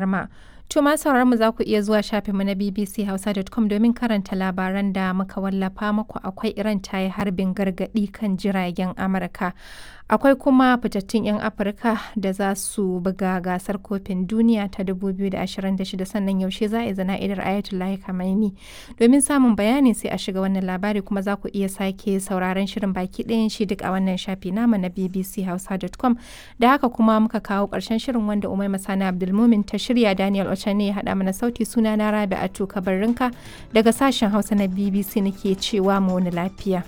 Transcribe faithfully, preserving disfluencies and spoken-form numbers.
Ma. To ma sauraron mu za ku iya zuwa shafinmu na bbchausa dot com domin karanta labaran da muka wallafa muku. Akwai Iran ta yi harbin gargaɗi kan jiragen Amurka. Akwai kuma fitattun 'yan Afirka da za su buga gasar kofin duniya ta dubu biyu da ashirin da shida, sannan yaushe za a yi zana'idar Ayatollah Khamenei. Domin samun bayani sai a shiga wannan labari, kuma za ku iya sake sauraron shirin baki ɗayan shi duk a wannan shafi namu na bbchausa dot com. Da haka kuma muka kawo ƙarshen shirin wanda Umaima Sani Abdulmumin ta shirya, Daniel Ochane ya haɗa mana sauti. Suna na Rabi'atu Kabarrinka daga sashen Hausa na B B C nake cewa mu wani lafiya.